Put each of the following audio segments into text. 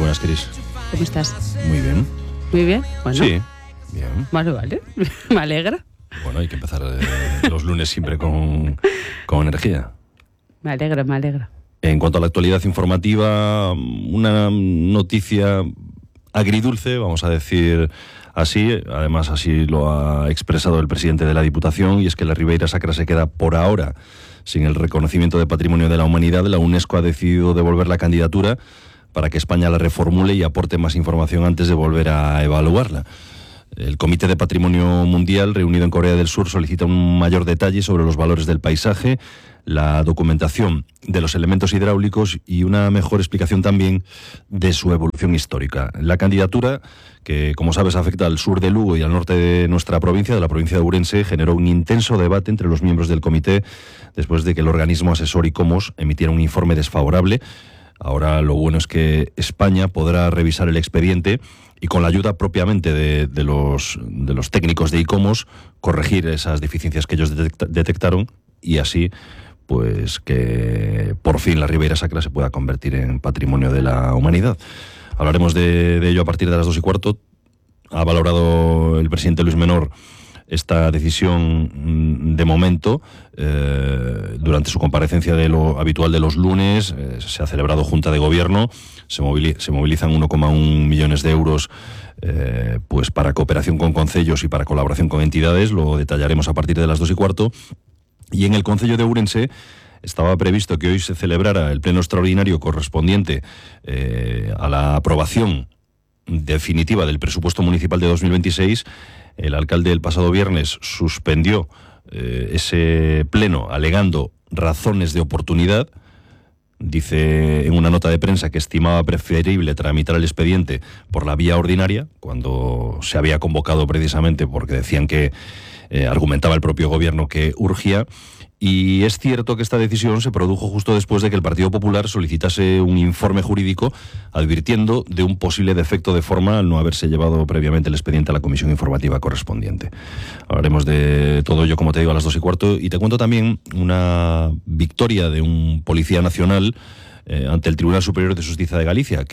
buenas, Cris. ¿Cómo estás? Muy bien. Muy bien. Bueno. Sí, bien. Vale. Me alegra. Bueno, hay que empezar los lunes siempre con energía. Me alegra. En cuanto a la actualidad informativa, una noticia agridulce, vamos a decir así, además así lo ha expresado el presidente de la Diputación, y es que la Ribeira Sacra se queda por ahora sin el reconocimiento de Patrimonio de la Humanidad. La UNESCO ha decidido devolver la candidatura para que España la reformule y aporte más información antes de volver a evaluarla. El Comité de Patrimonio Mundial, reunido en Corea del Sur, solicita un mayor detalle sobre los valores del paisaje, la documentación de los elementos hidráulicos y una mejor explicación también de su evolución histórica. La candidatura, que como sabes afecta al sur de Lugo y al norte de nuestra provincia, de la provincia de Ourense, generó un intenso debate entre los miembros del comité después de que el organismo asesor ICOMOS emitiera un informe desfavorable. Ahora lo bueno es que España podrá revisar el expediente y, con la ayuda propiamente de los técnicos de ICOMOS, corregir esas deficiencias que ellos detectaron, y así pues que por fin la Ribeira Sacra se pueda convertir en Patrimonio de la Humanidad. Hablaremos de ello a partir de las 2:15. Ha valorado el presidente Luis Menor esta decisión de momento. Durante su comparecencia de lo habitual de los lunes, se ha celebrado Junta de Gobierno, se movilizan 1,1 millones de euros pues para cooperación con concellos y para colaboración con entidades. Lo detallaremos a partir de las 2:15. Y en el Concello de Ourense estaba previsto que hoy se celebrara el pleno extraordinario correspondiente a la aprobación definitiva del presupuesto municipal de 2026. El alcalde el pasado viernes suspendió ese pleno alegando razones de oportunidad. Dice en una nota de prensa que estimaba preferible tramitar el expediente por la vía ordinaria, cuando se había convocado precisamente porque decían que argumentaba el propio gobierno que urgía. Y es cierto que esta decisión se produjo justo después de que el Partido Popular solicitase un informe jurídico advirtiendo de un posible defecto de forma al no haberse llevado previamente el expediente a la comisión informativa correspondiente. Hablaremos de todo ello, como te digo, a las 2:15, y te cuento también una victoria de un policía nacional ante el Tribunal Superior de Justicia de Galicia,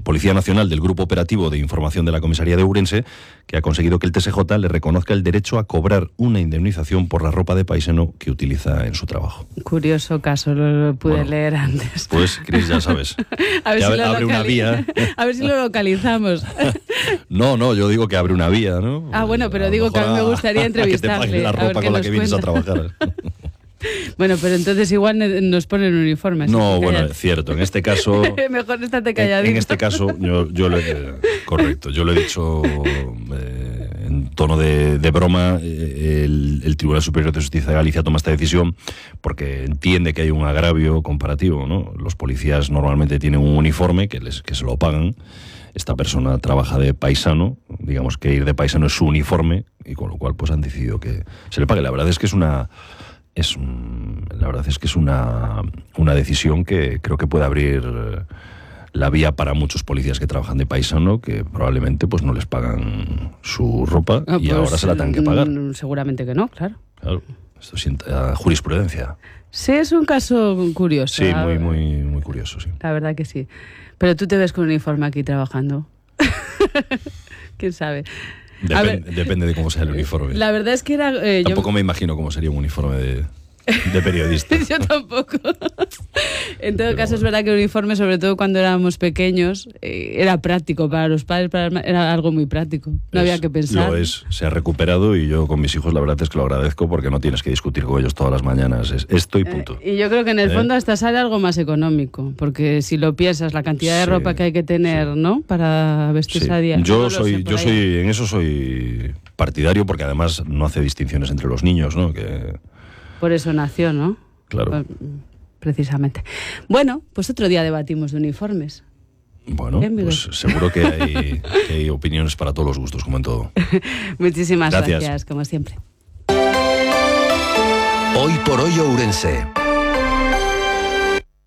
Policía Nacional del Grupo Operativo de Información de la Comisaría de Ourense, que ha conseguido que el TSJ le reconozca el derecho a cobrar una indemnización por la ropa de paisano que utiliza en su trabajo. Curioso caso, lo pude leer antes. Pues, Cris, ya sabes. Abre una vía. A ver si lo localizamos. No, yo digo que abre una vía, ¿no? Bueno, pero digo que a mí me gustaría entrevistarle. A que te paguen la ropa con la que vienes a trabajar. Bueno, pero entonces igual nos ponen uniforme. No, bueno, es cierto, en este caso... Mejor estate calladito. En este caso, yo lo he dicho en tono de broma. El Tribunal Superior de Justicia de Galicia toma esta decisión porque entiende que hay un agravio comparativo, ¿no? Los policías normalmente tienen un uniforme que se lo pagan. Esta persona trabaja de paisano, digamos que ir de paisano es su uniforme, y con lo cual pues han decidido que se le pague. La verdad es que es una decisión que creo que puede abrir la vía para muchos policías que trabajan de paisano, que probablemente pues no les pagan su ropa y pues ahora se la tengan que pagar. Seguramente que no, claro. Esto sienta jurisprudencia. Sí, es un caso curioso. Sí, muy curioso, sí. La verdad que sí. Pero tú te ves con un uniforme aquí trabajando. ¿Quién sabe? Depende de cómo sea el uniforme. La verdad es que era... Tampoco me imagino cómo sería un uniforme de periodista. Yo tampoco. En todo caso, es verdad que el uniforme, sobre todo cuando éramos pequeños, era práctico para los padres, era algo muy práctico. No había que pensar. Se ha recuperado, y yo con mis hijos la verdad es que lo agradezco, porque no tienes que discutir con ellos todas las mañanas. Es esto y punto. Y yo creo que en el fondo hasta sale algo más económico, porque si lo piensas, la cantidad de ropa que hay que tener, ¿no? Para vestirse a día. En eso soy partidario, porque además no hace distinciones entre los niños, ¿no? Por eso nació, ¿no? Claro. Precisamente. Bueno, pues otro día debatimos de uniformes. Bueno, pues seguro que hay opiniones para todos los gustos, como en todo. Muchísimas gracias, como siempre. Hoy por hoy Ourense.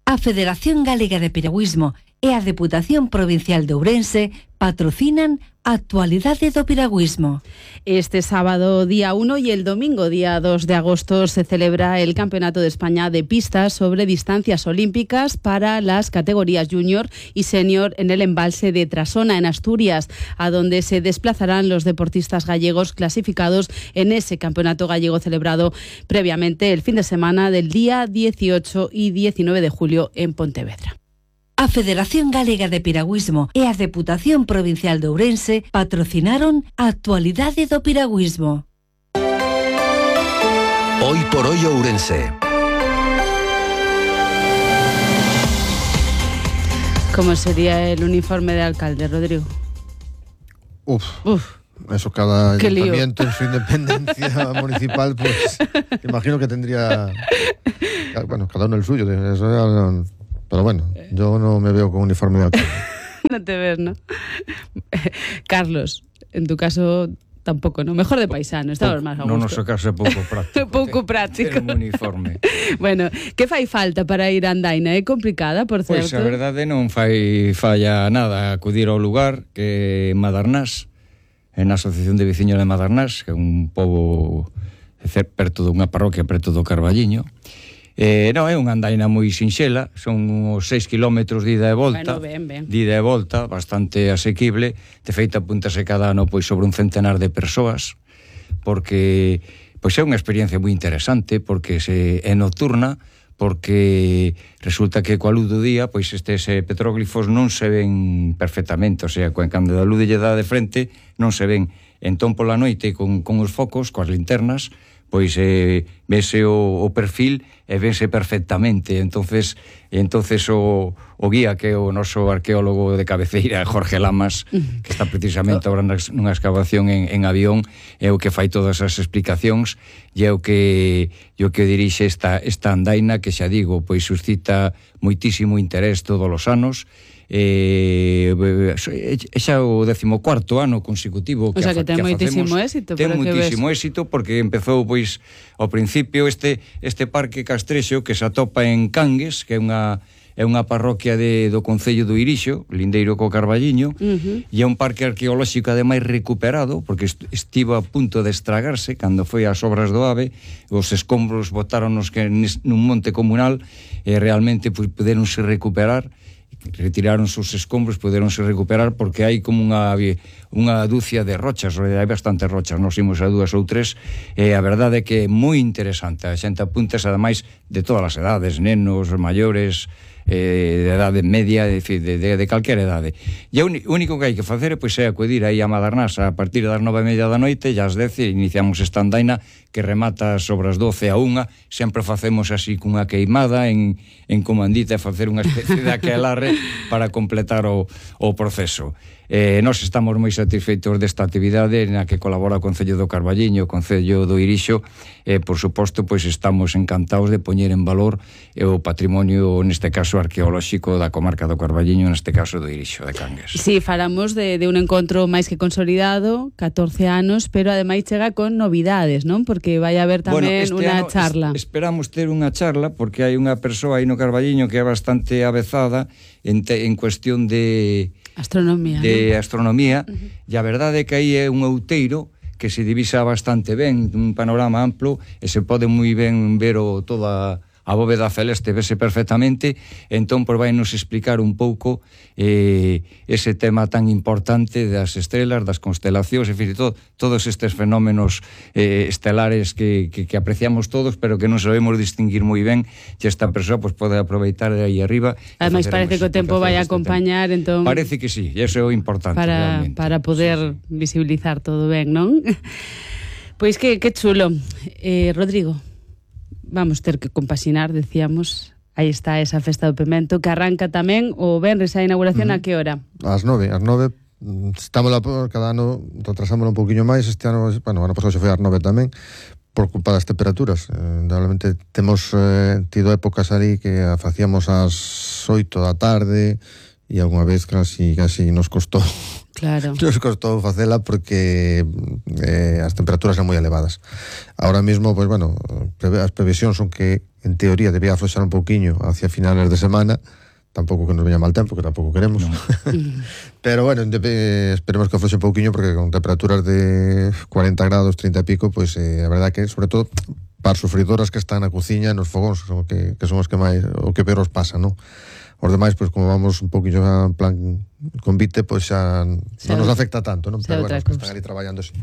A Federación Galega de Piragüismo e a Deputación Provincial de Ourense patrocinan Actualidade do piragüismo. Este sábado día 1 y el domingo día 2 de agosto se celebra el Campeonato de España de pistas sobre distancias olímpicas para las categorías junior y senior en el embalse de Trasona, en Asturias, a donde se desplazarán los deportistas gallegos clasificados en ese campeonato gallego celebrado previamente el fin de semana del día 18 y 19 de julio en Pontevedra. A Federación Galega de Piragüismo e a Deputación Provincial de Ourense patrocinaron a Actualidade do Piragüismo. Hoy por hoy Ourense. ¿Cómo sería el uniforme de alcalde, Rodrigo? Uf. Eso cada Qué lío. ayuntamiento en su independencia municipal, pues imagino que tendría, bueno, cada uno el suyo. Pero bueno, yo no me veo con uniforme de alcalde. No te ves, ¿no? Carlos, en tu caso tampoco, ¿no? Mejor de paisano, estabas máis a gusto. No noso caso é pouco práctico. Pouco práctico. Ter un uniforme. Bueno, que fai falta para ir a Andaina? É complicada, por certo? Pois a verdade non falla nada acudir ao lugar que é Madarnás, en a Asociación de Veciños de Madarnás, que é un pobo perto dunha parroquia, perto do Carballiño. Non, é unha andaina moi sinxela, son uns 6 kilómetros de ida e volta. Bueno, ben. De ida e volta, bastante asequible. De feito, apúntase cada ano pois sobre un centenar de persoas, porque pois é unha experiencia moi interesante, porque é nocturna, porque resulta que coa luz do día pois estes petróglifos non se ven perfectamente, o sea, cando a luz lle dá de frente non se ven. Entón pola noite con os focos, coas linternas, pois vese o perfil e vese perfectamente. Entonces o guía, que é o noso arqueólogo de cabeceira, Jorge Lamas, que está precisamente agora nunha excavación en avión, é o que fai todas as explicacións e é o que dirixe esta andaina, que xa digo, pois suscita moitísimo interés todos os anos. Xa o 14º ano consecutivo que, o sea, que ten moitísimo éxito. Ten moitísimo éxito, porque empezou pois ao principio este parque castrexo que se atopa en Cangues, que é unha parroquia do concello do Irixo, lindeiro co Carballiño, e é un parque arqueolóxico ademais recuperado, porque estivo a punto de estragarse cando foi as obras do AVE. Os escombros botáronos nun monte comunal e realmente puderonse recuperar. Retiraron os escombros, poderonse recuperar, porque hai como unha dúcia de rochas, hai bastantes rochas, nos imos a 2 ou 3, e a verdade é que é moi interesante. A xente apuntas, ademais, de todas as edades, nenos, maiores, de edade media, de calquera edade. E o único que hai que facer pois é acudir aí a Madarnás a partir das 9:30 da noite, e ás 10 iniciamos esta andaina que remata sobre as 12 a 1. Sempre facemos así cunha queimada en comandita, facer unha especie de aquelarre para completar o proceso. Nós estamos moi satisfeitos desta actividade na que colabora o Concello do Carballiño, o Concello do Irixo, e, por suposto, pois estamos encantados de poñer en valor o patrimonio, neste caso, arqueolóxico da comarca do Carballiño, neste caso do Irixo, de Cangues. Sí, falamos de un encontro máis que consolidado, 14 anos, pero ademais chega con novidades, non? Porque vai haber tamén unha charla. Esperamos ter unha charla, porque hai unha persoa aí no Carballiño que é bastante avezada en cuestión de astronomía, e a verdade é que aí é un outeiro que se divisa bastante ben, un panorama amplo, e se pode moi ben ver toda a bóveda celeste, vese perfectamente. Entón, vai nos explicar un pouco ese tema tan importante das estrelas, das constelacións, en fin, todos estes fenómenos estelares que apreciamos todos, pero que non sabemos distinguir moi ben, e esta persoa pode aproveitar de aí arriba. Ademais, parece que o tempo vai a acompañar, entón... Parece que sí, e iso é o importante, realmente. Para poder visibilizar todo ben, non? Pois que chulo. Rodrigo, vamos ter que compaxinar, decíamos. Aí está esa festa do Pemento, que arranca tamén o venres a inauguración. A que hora? Ás 9. Estamos cada ano, retrasámoslo un poquinho máis. Este ano, bueno, ano pasado xa foi ás 9 tamén, por culpa das temperaturas. Realmente temos tido épocas ali que a facíamos ás 8 da tarde, e algunha vez casi nos costou. Claro. Nos costou facela porque as temperaturas eran moi elevadas. Ahora mismo, pues bueno, as previsións son que en teoría debía afloxar un pouquiño hacia finales de semana, tampouco que nos veña mal tempo, que tampouco queremos. No. Pero bueno, esperemos que fose un pouquiño, porque con temperaturas de 40 grados, 30 e pico, pois a verdade que, sobre todo, para as sufridoras que están na cociña e nos fogóns, que son os que máis, o que peor os pasa, non? Os demais, pois como vamos un pouquinho en plan convite, pois xa non nos afecta tanto, non? Pero bueno, os que están ali traballando, sí.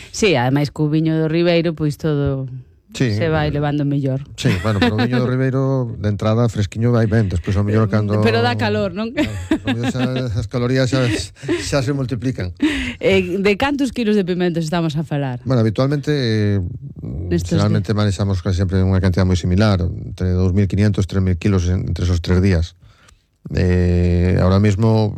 Sí, ademais co viño do Ribeiro, pois todo... Sí, se vai levando mellor. Sí, bueno, pero o viño do Ribeiro de entrada fresquiño vai ben, despois ao mellor cando... Pero dá calor, non? As calorías xa se multiplican. De cantos kilos de pimentos estamos a falar? Bueno, habitualmente generalmente manexamos casi sempre unha cantidad moi similar, entre 2.500 e 3.000 kilos entre esos 3 días. Ahora mismo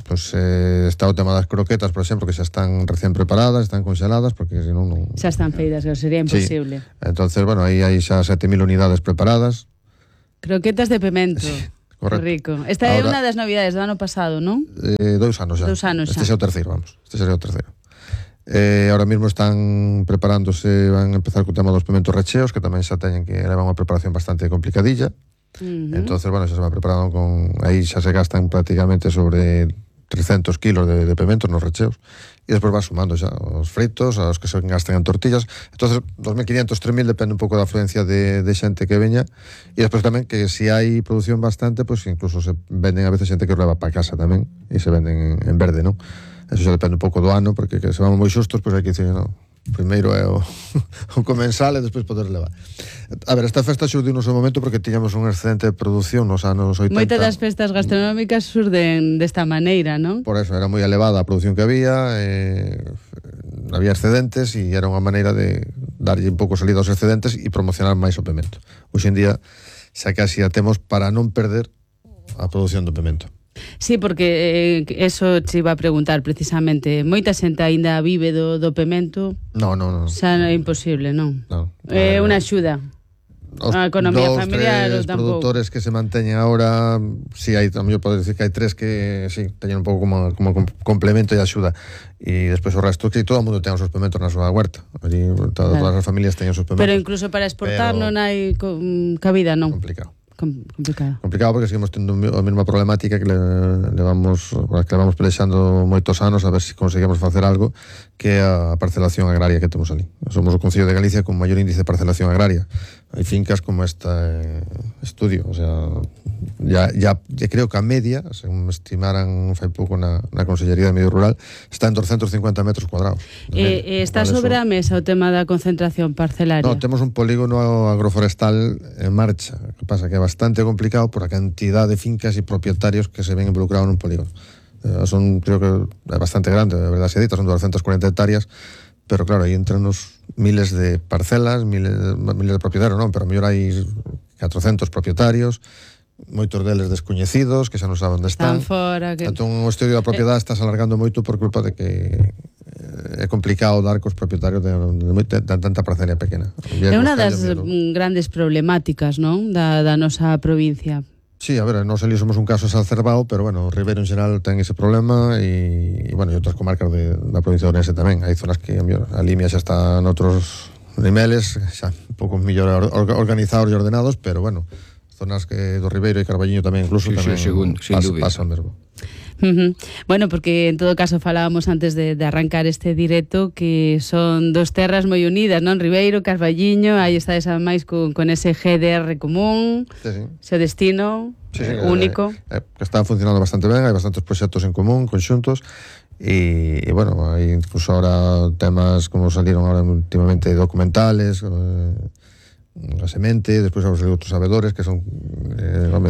pues, está o tema das croquetas, por exemplo, que xa están recién preparadas, están congeladas, porque senón non... Xa están feitas, que sería imposible. Sí. Entonces, bueno, aí hai xa 7.000 unidades preparadas. Croquetas de pimento. Sí, correcto. Rico. Esta é unha das novidades do ano pasado, non? 2 anos xa. 2 anos xa. Este xa é o terceiro, vamos. Este sería o terceiro. Ahora mismo están preparándose, van a empezar co tema dos pimentos recheos, que tamén xa teñen que levar unha preparación bastante complicadilla. Entonces, bueno, xa se van preparando con... Aí xa se gastan prácticamente sobre 300 kilos de pimentos nos recheos, e despois vas sumando xa os fritos, aos que se gastan en tortillas. Entonces 2.500, 3.000 depende un pouco da afluencia de xente que veña, e despois tamén que se hai produción bastante, pues incluso se venden a veces xente que os leva para casa tamén, e se venden en verde, non? Eso xa depende un pouco do ano, porque que se vamos moi xustos, pois hai que dicir, non, primeiro é o comensal e despois poder levar. A ver, esta festa xurdiu no seu momento porque tiñamos un excedente de produción nos anos 80. Moitas das festas gastronómicas surden desta maneira, non? Por eso, era moi elevada a produción que había, había excedentes e era unha maneira de darlle un pouco salida aos excedentes e promocionar máis o pemento. Hoxe en día xa casi a temos para non perder a produción do pemento. Sí, porque eso te iba a preguntar precisamente. Moita xente aínda vive do pemento. No. Xa é imposible, non? É unha axuda. A economía familiar ou tampouco. Os produtores que se manteñen agora, si hai, tamén pode decir que hai 3 que sí, teñen un pouco como complemento e axuda. E despois o resto, que todo o mundo ten os seus pementos na súa huerta. Allí todas as familias teñen os seus pementos. Pero incluso para exportar non hai cabida, non? Complicado porque seguimos tendo a mesma problemática que levamos pelexando moitos anos a ver se conseguimos facer algo, que é a parcelación agraria que temos ali. Somos o Concello de Galicia con maior índice de parcelación agraria. Hai fincas como este estudio, o sea, ya creo que a media, según me estimaran fai pouco na Consellería de Medio Rural, está en 250 metros cuadrados. Está sobre a mesa o tema da concentración parcelaria? No, temos un polígono agroforestal en marcha, que pasa que é bastante complicado por a cantidad de fincas e propietarios que se ven involucrados nun polígono. Creo que é bastante grande, de verdade se dita, son 240 hectáreas, pero claro, aí entran uns miles de parcelas, miles de propietarios, non, pero a mellor hai 400 propietarios, moitos deles descoñecidos, que xa non saben onde están. Entón, o estudio da propiedade está alargando moito por culpa de que é complicado dar cos propietarios de tanta parcela pequena. É unha das grandes problemáticas, non, da nosa provincia. Sí, a ver, nós ali somos un caso exacerbado, pero bueno, o Ribeiro en xeral ten ese problema e bueno, e outras comarcas da provincia de Ourense tamén. Hai zonas que a Limia xa está noutros niveles, xa un pouco mellor organizados e ordenados, pero bueno, zonas que do Ribeiro e Carballiño tamén incluso tamén pasa o mesmo. Bueno, porque en todo caso falábamos antes de arrancar este directo que son dos terras moi unidas, non? Ribeiro, Carballiño, aí está esa máis con ese GDR común, ese destino único. Que están funcionando bastante ben, hai bastantes proxectos en común, conxuntos, e bueno, hai incluso ahora temas como salieron ahora últimamente documentales, a semente, despois vamos a ver outros sabedores que son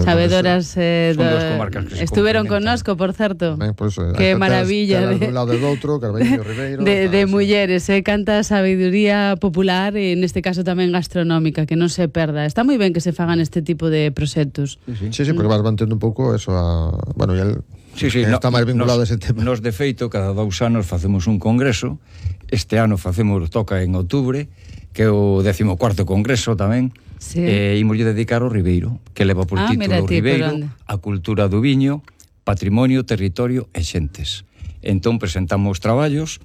sabedoras son dos comarcas que estuveron connosco, por certo. Por eso, que maravilla de un lado del outro, Carballiño, Ribeiro, de mulleres, canta sabiduría popular e neste caso tamén gastronómica, que non se perda. Está moi ben que se fagan este tipo de proxectos. Sí, porque vas mantendo un pouco eso a, bueno, e el está máis vinculado a ese tema. Nos de feito, cada 2 anos facemos un congreso. Este ano toca en outubro, que é o 14º congreso tamén, e imoslle dedicar ao Ribeiro, que leva por título Ribeiro, a cultura do viño, patrimonio, territorio e xentes. Entón presentamos traballos,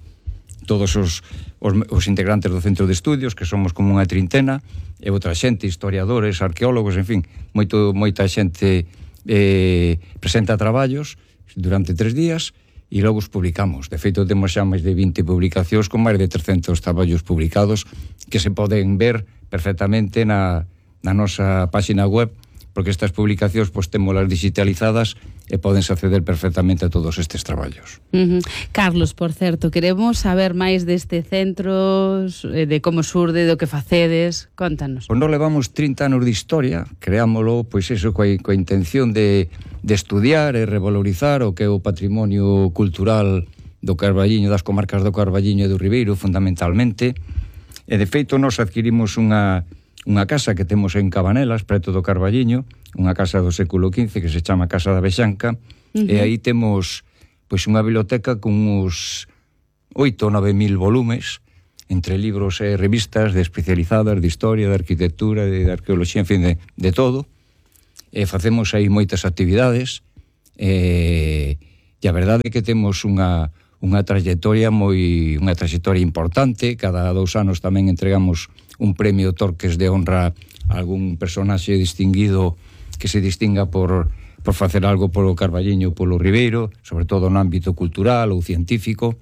todos os integrantes do Centro de Estudios, que somos como unha trintena, e outra xente, historiadores, arqueólogos, en fin, moita xente presenta traballos durante 3 días e logo os publicamos. De feito, temos xa máis de 20 publicacións con máis de 300 traballos publicados que se poden ver perfectamente na nosa página web, porque estas publicacións pois témolas digitalizadas e podense acceder perfectamente a todos estes traballos. Carlos, por certo, queremos saber máis deste centro, de como surde, do que facedes. Contanos. Pois nós levamos 30 anos de historia, creámolo, pois eso, coa intención de estudiar e revalorizar o que é o patrimonio cultural do Carballiño, das comarcas do Carballiño e do Ribeiro, fundamentalmente. E, de feito, nós adquirimos unha casa que temos en Cabanelas, preto do Carballiño, unha casa do século XV que se chama Casa da Vexanca, e aí temos pois unha biblioteca con uns 8 ou 9 mil volumes, entre libros e revistas de especializadas de historia, de arquitectura, de arqueoloxía, en fin, de todo. E facemos aí moitas actividades, e a verdade é que temos unha trayectoria importante. Cada 2 anos tamén entregamos un premio Torques de honra a algún personaxe distinguido que se distinga por facer algo polo Carballiño, polo Ribeiro, sobre todo no ámbito cultural ou científico.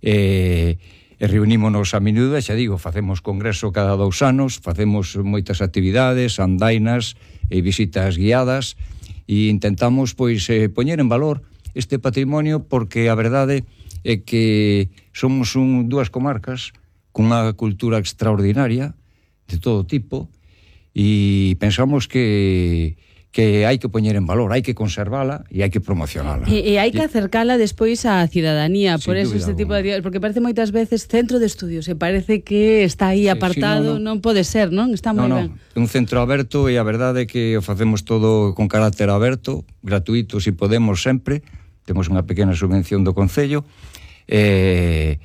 E reunímonos a menudo, xa digo, facemos congreso cada 2 anos, facemos moitas actividades, andainas e visitas guiadas, e intentamos pois poñer en valor este patrimonio, porque a verdade é que somos dúas comarcas cunha cultura extraordinaria de todo tipo, e pensamos que hai que poñer en valor, hai que conservala e hai que promocionala. E hai que acercala despois á cidadanía, por eso este tipo alguna. de... Porque parece moitas veces centro de estudios, e parece que está aí apartado, non pode ser, non? Está moi ben. É un centro aberto, e a verdade é que o facemos todo con carácter aberto, gratuito, se podemos sempre. Temos unha pequena subvención do Concello, e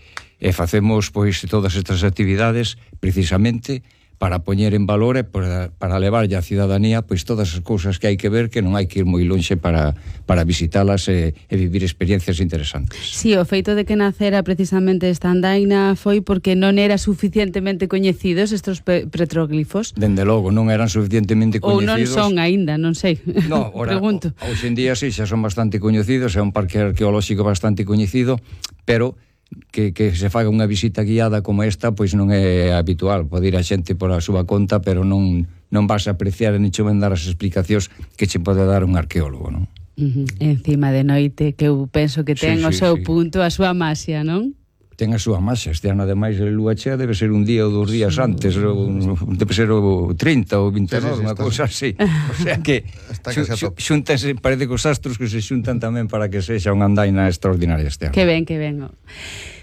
facemos pois todas estas actividades precisamente para poñer en valor e para levarlle á cidadanía pois todas as cousas que hai que ver, que non hai que ir moi lonxe para visitalas e vivir experiencias interesantes. Sí, o feito de que nacera precisamente esta andaina foi porque non era suficientemente coñecidos estes petróglifos. Dende logo, non eran suficientemente coñecidos. Ou non son aínda, non sei. No, pregunto. Hoxe en día sí, xa son bastante coñecidos, é un parque arqueolóxico bastante coñecido, pero que se faga unha visita guiada como esta pois non é habitual. Pode ir a xente por a súa conta, pero non vas a apreciar e nicho ben dar as explicacións que che pode dar un arqueólogo, non? Encima de noite, que eu penso que ten o seu punto, a súa maxia, non? Ten a súa maxia. Este ano, ademais, a lúa chea debe ser un día ou 2 días antes, debe ser o 30 ou 29, unha cousa así. O sea que xúntanse, parece que os astros que se xuntan tamén para que sexa unha andaina extraordinaria este ano. Que ben.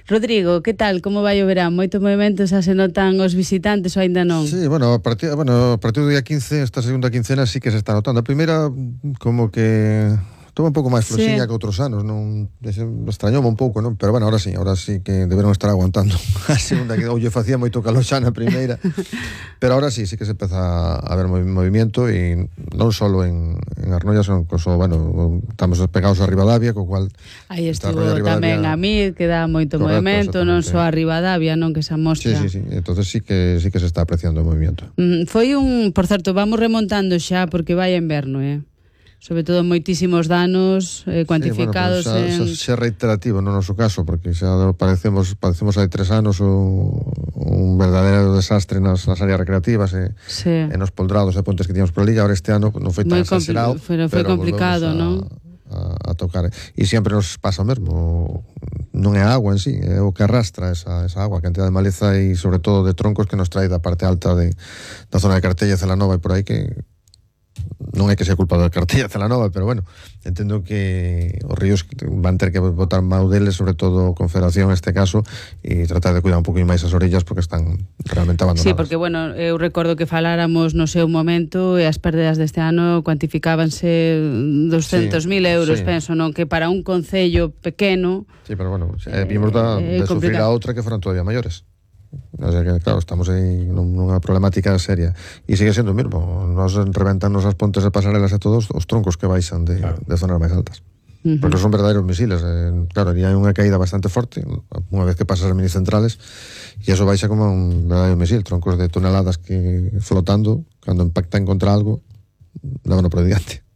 Rodrigo, que tal? Como vai o verán? Moito movimento, xa se notan os visitantes ou aínda non? Sí, a partir do día 15, esta segunda quincena sí que se está notando. A primeira, como que Toma un pouco máis floxiña que outros anos, non extrañoume un pouco, non? Pero bueno, ahora sí que deberon estar aguantando a segunda, que lle facía moito calor xa na primeira. Pero ahora sí que se empeza a ver movimiento, e non só en Arnoia, son coso, bueno, estamos pegados a Ribadavia, co cual aí estuvo tamén a mí, que dá moito movimento, non só a Ribadavia, non, que se amostra. Sí, entonces sí que se está apreciando o movimiento. Foi por certo, vamos remontando xa porque vai en inverno, sobre todo moitísimos danos cuantificados. Sí, bueno, xa reiterativo no noso caso, porque xa padecemos hai 3 anos un verdadeiro desastre nas áreas recreativas e nos poldrados e pontes que tíamos por ali. Ahora este ano non foi tan exagerado, pero foi complicado, non? A tocar, e sempre nos pasa o mesmo. Non é a agua en sí, é o que arrastra esa agua, a cantidad de maleza e sobre todo de troncos que nos trae da parte alta da zona de Cartella, Celanova e por aí, que non é que sea culpa da Cartella, Celanova, pero bueno, entendo que os ríos van ter que botar mau deles, sobre todo Confederación neste caso, e tratar de cuidar un pouco máis as orillas porque están realmente abandonadas. Sí, porque bueno, eu recordo que faláramos no seu momento e as pérdidas deste ano cuantificábanse 200.000 euros, penso, non? Que para un concello pequeno... Sí, pero bueno, vimos de sufrir a outra que foron todavía maiores. O sea que, claro, estamos aí nunha problemática seria, e sigue sendo o mesmo. Nos reventan as pontes e pasarelas e todos os troncos que baixan de zonas máis altas, porque son verdadeiros misiles. Claro, e hai unha caída bastante forte unha vez que pasas as mini centrales, e eso baixa como un verdadeiro misil, troncos de toneladas que flotando, cando impactan contra algo, levan por diante.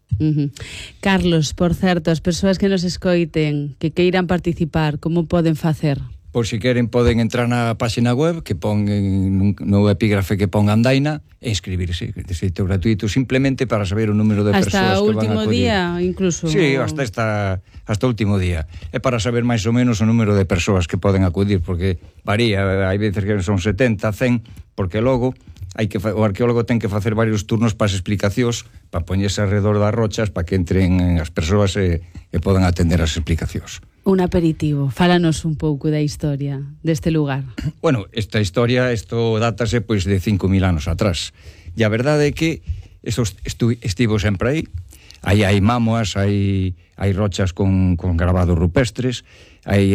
Carlos, por certo, as persoas que nos escoiten, que queiran participar, como poden facer? Por si queren poden entrar na página web que pon no epígrafe que pon Andaina e inscribirse de xeito gratuito simplemente para saber o número de persoas que van a acudir. Hasta o último día incluso? Sí, hasta o último día. É para saber máis ou menos o número de persoas que poden acudir, porque varía, hai veces que son 70, 100, porque logo o arqueólogo ten que facer varios turnos para as explicacións, para poñerse alrededor das rochas para que entren as persoas e podan atender as explicacións. Un aperitivo, fálanos un pouco da historia deste lugar. Bueno, esta historia, isto dátase pois de 5.000 anos atrás. E a verdade é que estivo sempre aí hai mámoas, hai rochas con grabados rupestres, hai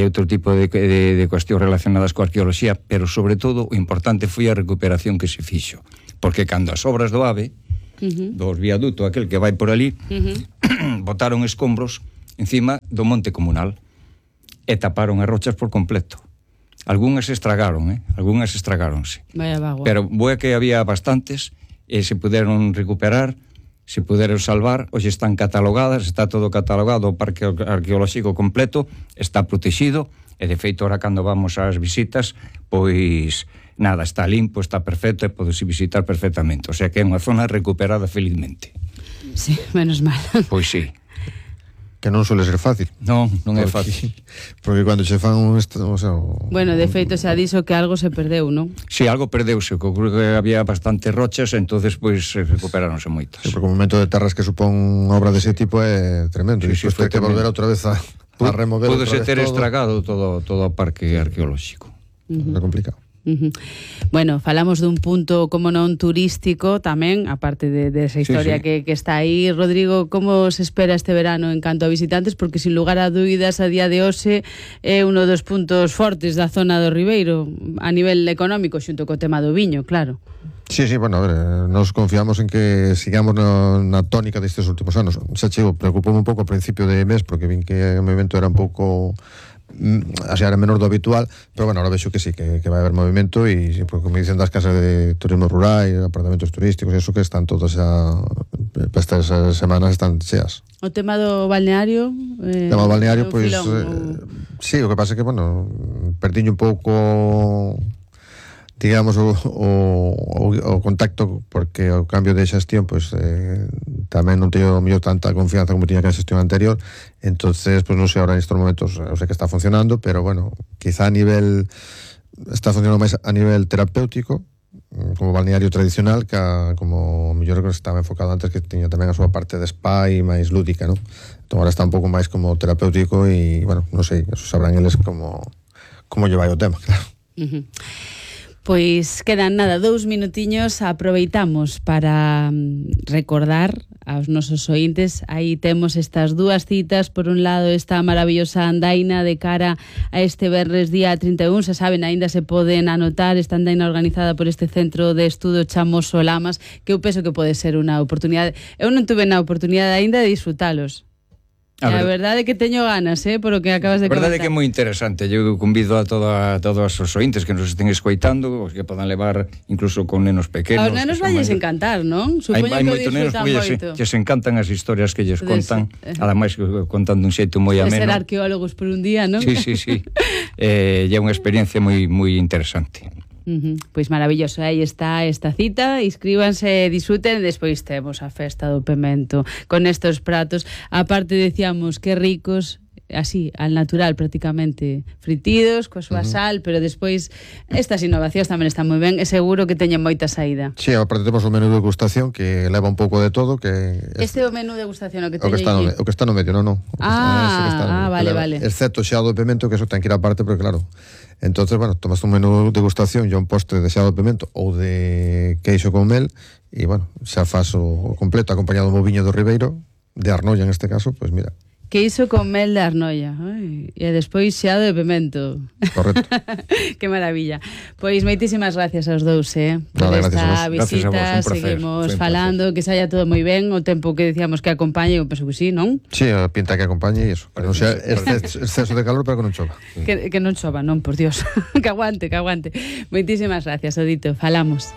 outro tipo de cuestións relacionadas coa arqueoloxía, pero sobre todo o importante foi a recuperación que se fixo, porque cando as obras do AVE, do viaduto aquel que vai por ali, botaron escombros encima do monte comunal e taparon as rochas por completo. Algúnas estragáronse. Vaya vago. Pero boa que había bastantes e se puderon recuperar, se puderon salvar, hoxe están catalogadas, está todo catalogado, o parque arqueolóxico completo está protegido e de feito ahora cando vamos ás visitas, pois nada, está limpo, está perfecto e podese visitar perfectamente, o sea que é unha zona recuperada felizmente. Sí, menos mal. Pois sí. Que non suele ser fácil. Non é fácil. Porque cando se fan Bueno, de feito xa dixo que algo se perdeu, non? Si, algo perdeuse, que había bastantes rochas, entonces pois recuperáronse moitas. Sí, porque o momento de terras que supón obra dese tipo é tremendo. Sí, e foi que volver outra vez a remover outra vez todo. Púdose ter estragado todo o parque arqueolóxico. É complicado. Bueno, falamos dun punto como non turístico tamén, aparte de esa historia que está aí. Rodrigo, como se espera este verano en canto a visitantes? Porque sin lugar a dúbidas a día de hoxe é uno dos puntos fortes da zona do Ribeiro a nivel económico, xunto co tema do viño, claro. Sí, bueno, a ver, nos confiamos en que sigamos na tónica destes últimos anos. Xa chego, preocupoume un pouco ao principio de mes, porque vin que o movimento era un pouco así era menor do habitual, pero bueno, ahora vexo que sí, que vai haber movimento e, como dicen, das casas de turismo rural e apartamentos turísticos, eso que están todas xa para estas semanas están cheas. O tema do balneario? O tema do balneario, pois sí, o que pasa é que, bueno, perdiño un pouco, digamos, o contacto, porque o cambio de xestión pois tamén non teño mellor tanta confianza como tiña que a xestión anterior, entonces pois non sei ahora nestes momentos, eu sei que está funcionando, pero bueno, quizá está funcionando máis a nivel terapéutico como balneario tradicional que como mellor que estaba enfocado antes, que tiña tamén a súa parte de spa e máis lúdica, non? Entón agora está un pouco máis como terapéutico e, bueno, non sei, eso sabrán eles como lle vai o tema, claro. Pois quedan nada, 2 minutiños, aproveitamos para recordar aos nosos ointes, aí temos estas dúas citas, por un lado esta maravillosa andaina de cara a este venres día 31, xa saben, aínda se poden anotar esta andaina organizada por este Centro de Estudo Chamoso Lamas, que eu penso que pode ser unha oportunidade. Eu non tuve na oportunidade aínda de disfrutalos. A verdade é que teño ganas, por o que acabas de comentar. A verdade é que é moi interesante. Eu convido a todos os ointes que nos estén escoitando, que podan levar incluso con nenos pequenos. Aos nenos valles encantar, non? Supoño que moitos nenos que se encantan as historias que lles contan, ademais contando un xeito moi ameno. Ser arqueólogos por un día, non? Sí. É unha experiencia moi interesante. Pois maravilloso, aí está esta cita, inscríbanse, disfruten, despois temos a festa do pemento con estos pratos, aparte decíamos que ricos, así, al natural prácticamente, fritidos, coa súa sal, pero despois estas innovacións tamén están moi ben, e seguro que teñen moita saída. Sí, aparte temos o menú de degustación que leva un pouco de todo, que este é o menú de degustación o que teñe aquí. O que está no medio, non. Vale. Excepto xeado de pemento, que eso ten que ir aparte, porque claro, entonces, bueno, tomas un menú de degustación e un postre de xeado de pemento ou de queixo con mel e, bueno, xa faz o completo acompañado do viño do Ribeiro, de Arnoia en este caso, pois mira. Queixo con mel de Arnoia. E despois xeado de pemento. Correcto. Que maravilla. Pois moitísimas gracias aos dous, por esta visita. Seguimos falando, que saia todo moi ben. O tempo que decíamos que acompañe, eu penso que sí, non? Sí, a pinta que acompañe e iso. Que non sea exceso de calor, pero que non chova. Que non chova, non, por Dios. Que aguante. Moitísimas gracias, Odito. Falamos.